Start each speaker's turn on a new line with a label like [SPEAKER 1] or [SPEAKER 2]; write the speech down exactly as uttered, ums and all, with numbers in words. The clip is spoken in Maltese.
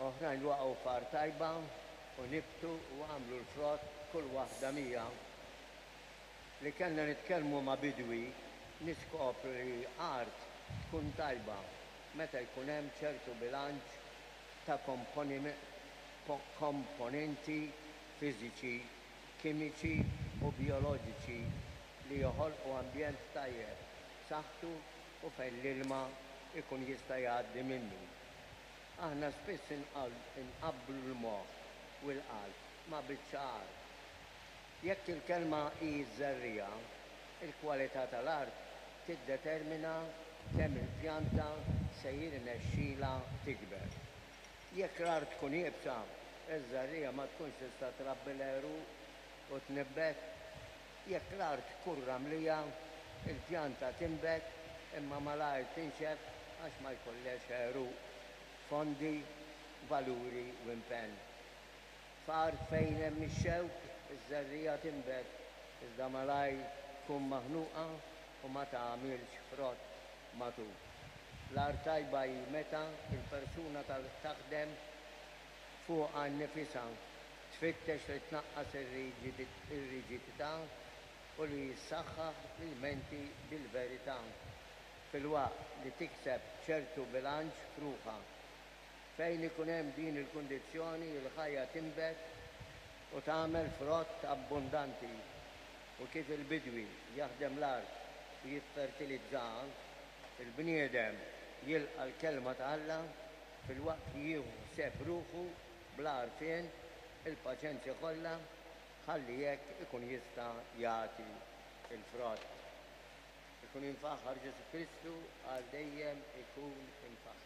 [SPEAKER 1] Oħrajn waqgħu f'art tajba u nibtu u għamlu l-frott kull waħda mija. Li kellna nitkellmu ma' bidwi niskopru li art tkun tajba meta jkun hemm ċertu bilanċ ta' komponenti fiżiċi, kimiċi u bijoloġiċi li joħolqu ambjent tajjeb, b'saħħtu u fejn l-ilma jkun jista' jgħaddi minnu. Aħna spiss inqabblu l-moħħ u l-qalb ma' biċċa art. Jekk il-kelma hi ż-żerriegħa, il-kwalità tal-art tiddetermina kemm il-pjanta se jirnexxilha tikber. Jekk l-art tkun iebsa, iż-żerriegħa ma tkunx tista' trabbi l-għeruq u tnibbet. Jekk l-art tkun ramlija, il-pjanta tinbet imma malajr tinxef għax ma jkollhiex għeruq, fondi, valuri u impenn. F'art fejn hemm ix-xewk, iż-żerriegħa tinbet iżda malajr tkun maħnuqa u ma tagħmilx frott matur. L-art tajba hi meta l-persuna taħdem fuqha nnifisha, tfittex li tnaqqas ir-riġidità u li ssaħħaħ il-menti bil-verità, filwaqt li tikseb ċertu bilanċ f'ruħha. Fejn ikun hemm din il-kundizzjoni, il-ħajja tinbet u tagħmel frott abbundanti. U kif il-bidwi jaħdem l-art u jiffertilizzaha, il-bniedem jilqa' l-kelma ta' Alla filwaqt li jieħu ħsieb ruħu bl-għarfien, il-paċenzja kollha, ħalli hekk ikun jista' jagħti l-frott. Ikun imfaħħar Ġesù Kristu, għal dejjem ikun imfaħħar.